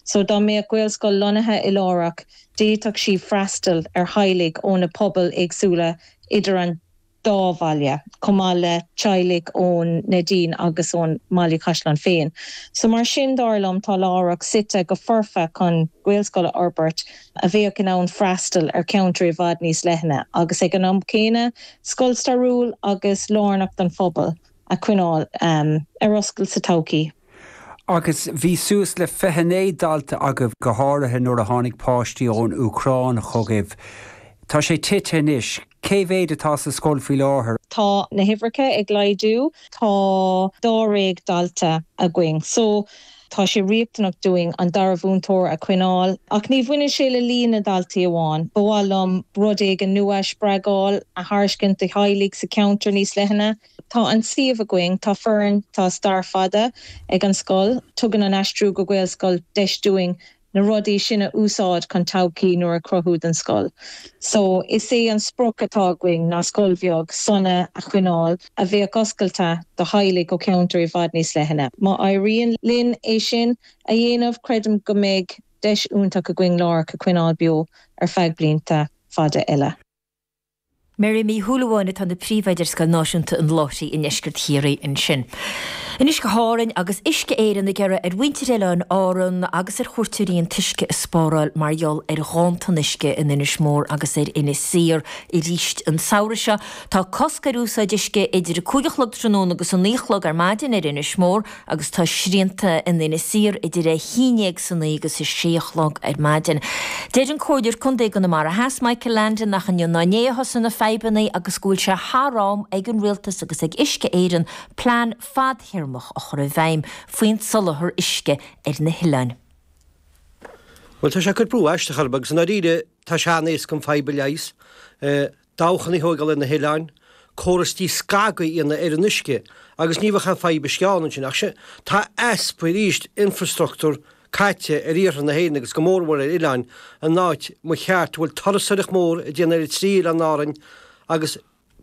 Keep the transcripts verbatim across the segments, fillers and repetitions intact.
So dá mbeadh Gaelscoil lonnaithe i Lárach, d'fhéadfadh sí freastal ar theaghlaigh ó na pobail éagsúla idir an dá bhaile, chomh maith le teaghlaigh ón Neidín agus ón mBaile Caisleáin féin. So mar sin dar liom tá Lárach suite go foirfe chun Gaelscoil a fhorbairt a bheadh in ann freastal ar cheantar i bhfad níos leithne, agus ag an am céanna scoil stairiúil agus lárnach don phobal a choinneáil um, ar oscailt sa todhchaí. Agus bhí suas le fiche naoi dalta agaibh go háirithe nuair a tháinig páistí ón Úcráin chugaibh. Tá sé tite anois, cé mhéad atá sa scoil faoi láthair. Tá na huimhreacha ag laghdú tá dáréag dalta againn. So tá sé riachtanach dúinn an dara múinteoir a choinneáil, ach ní bhaineann sé le líon na ndaltaí amháin. Ba mhaith liom rud éigin nua spreagúil a thairiscint do theaghlaigh sa cheantar níos leithne. Tá an suíomh againn tá foireann tá stair fada ag an scoil, tugann an aistriú go Gaelscoil deis dúinn na rudaí sin a úsáid chun todhchaí nua a chruthú don scoil. So is é an sprioc atá againn ná scoil bheag sona a choinneáil a bheadh oscailte do theaghlaigh ó cheantar i bhfad níos leithne. Má éiríonn linn é sin a dhéanamh creidim go mbeidh deis iontach againn Lárach a choinneáil beo ar feadh blianta fada eile. Mary Ní Shúilleabháin atá ina príomhoide ar Scoil Náisiúnta an Láithrigh i ndeisceart Chiarraí ansin. Anois go hÁrainn agus Uisce Éireann ag iarraidh ar mhuintir Oileáin Árann agus ar chuairteoirí an t-uisce a spáráil mar gheall ar ghanntan uisce in Inis Mór agus ar Inis Oírr arís an samhradh seo. Tá cosc ar úsáid uisce idir a cúig a chlog tráthnóna agus a naoi a chlog ar maidin ar Inis Mór agus tá srianta in Inis Oírr idir a haon déag sa naoi agus a sé a chlog ar maidin. Deir an Comhairleoir Contae Chonamara Theas Michael Landon nach inniu ná inné a thosaigh na fadhbanna agus go bhfuil sé thar am ag an rialtas agus ag Uisce Éireann plean fadtéarmach a chur i bhfeidhm faoin soláthar uisce ar na hoileáin. Well tá sé ag cur brú aisteach orm agus i ndáiríre tá sé an-éasca an fadhb a leigheas. Dabhchanna a thógáil ar na hoileáin, córas díscagadh a dhéanamh ar an uisce agus ní bheadh aon fadhb uisce ann ansin ach sin tá easpa arís infrastruchtúr caite ar iarthar na hÉireann agus go mórmhór ar oileáin an áit mo cheart bhfuil turasóireacht mór ag déanamh ar trí oileán Árainn agus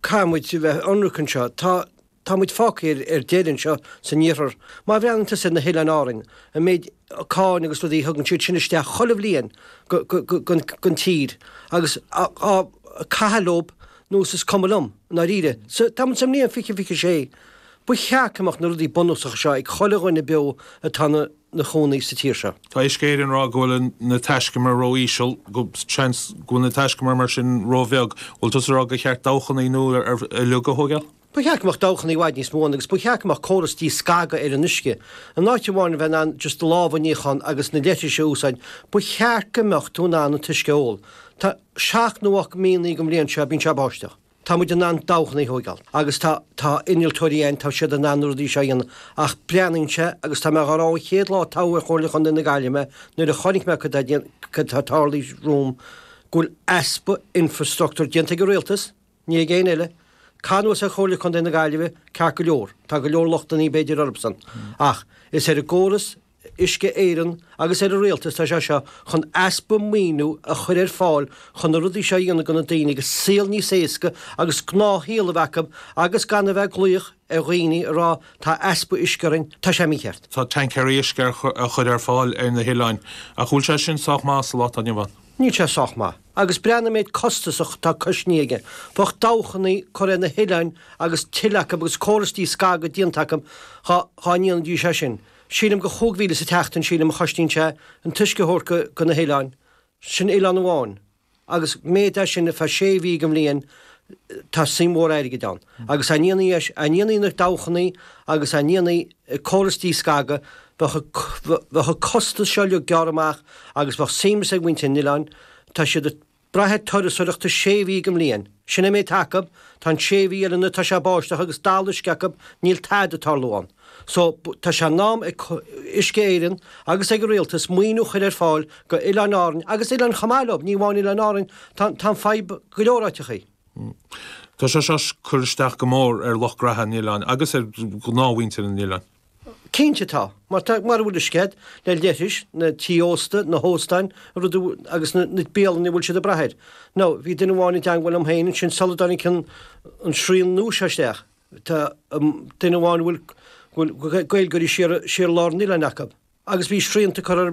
caithfidh muid a bheith ionraic anseo. Tá tá muid fágtha ar ar deireadh anseo san iarthar. Má bhreathnaíonn tusa ar na hoileáin Árainn, an méid cáin agus rudaí a thugann siad sin isteach chuile bhliain go go go gon gon tír agus á á caitheamh leo nós is cuma liom, i ndáiríre. Sa tá muid sa mbliain fiche fiche sé. Ba cheart go mbeadh na rudaí bunúsacha seo ag chuile dhuine beo atá ina na chónaí sa tír seo. Tá Uisce Éireann ag rá go bhfuil na taiscumair ró-íseal, go seans go bhfuil na taiscumair mar sin ró-bheag. Bhfuil tusa ag rá gur cheart dabhchanna nua uilig a thógáil? Ba cheart go mbeadh dabhchanna i bhfad níos mó ann agus ba cheart go mbeadh córas díscagadh ar an uisce. In áit amháin a bheith in ann just do lámh a níochán agus na leithris a úsáid, ba cheart go mbeadh tú in ann an t-uisce a ól. Tá seacht nó ocht míonna den bhliain seo, bíonn sé ag báisteach. Tá muid in ann dabhchanna a thógáil agus tá tá innealtóirí ann, tá siad in ann na rudaí seo a dhéanamh ach breathnaíonn sé agus tá mé dhá rá ón chéad lá a toghadh ar Chomhairle Chontae na Gaillimhe nuair a chonaic mé cad tá cad tá tarlaithe romham go bhfuil easpa infrastruchtúr déanta ag an rialtas, ní ag éinne eile. Caith anuas ar Chomhairle Chontae na Gaillimhe ceart go leor, tá go leor lochtanna b'fhéidir orthusan ach is ar an gcóras Uisce Éireann agus ar an rialtas tá sé seo chun easpa maoiniú a chur ar fáil chun na rudaí seo a dhéanamh do na daoine agus saol níos éasca agus gnáthshaol a bheith acu agus gan a bheith ag glaoch ar dhaoine a rá tá easpa uisce orainn, tá sé mícheart. Tá tancaeirí uisce a chur ar fáil ar na hoileáin ach bhfuil sé sin sách maith sa lá atá inniu ann? Níl sé sách maith. Agus breathnaigh an méid costas atá cosnaithe aige. Bheadh dabhchanna curtha ar na hoileáin agus tuilleadh acu agus córas díscagadh déanta acu dhá ndéanfaidís é sin. Sílim gur chúig mhíle sa tseachtain, sílim, a chosnaíonn sé an t-uisce a thabhairt go, go na hoileáin. Sin oileán amháin. Agus méid é sin ar feadh sé mhí den bhliain, tá suim mhór airgid ann. Agus dá ndéanfaí é, dá ndéanfaí na dabhchannaí agus dá ndéanfaí córas díscagadh, bheadh, bheadh an costas seo uilig gearrtha amach agus bheadh suaimhneas ag muintir an oileáin. Tá siad ag brath ar turasóireacht sé mhí den bhliain. Sin an méid atá acu. Tá an sé mhí eile nuair atá sé ag báisteach agus dall uisce acu, níl tada ag tarlú ann. So, tá sé in am ag Uisce Éireann agus ag an Rialtas maoiniú a chur ar fáil go Oileáin Árainn agus oileáin chomh maith leo, ní amháin Oileáin Árainn, tá tá an fadhb go leor áiteachaí. Tá sé seo ag cur isteach go mór ar lucht graithe an oileáin agus ar ghnáthmhuintir an oileáin. Cinnte tá. Mar tá, mara bhfuil uisce agat, na leithris, na tí ósta, na hóstáin, rud agus na na bialanna a bhfuil siad ag brath air. Now, bhí duine amháin i dteangmháil liom féin ansin sula dtáinig an an srian nua seo isteach. Tá duine amháin a bhfuil bhfuil Gaeilgeoirí siar siar lár an oileáin acu. Agus bhí srianta curtha orthu.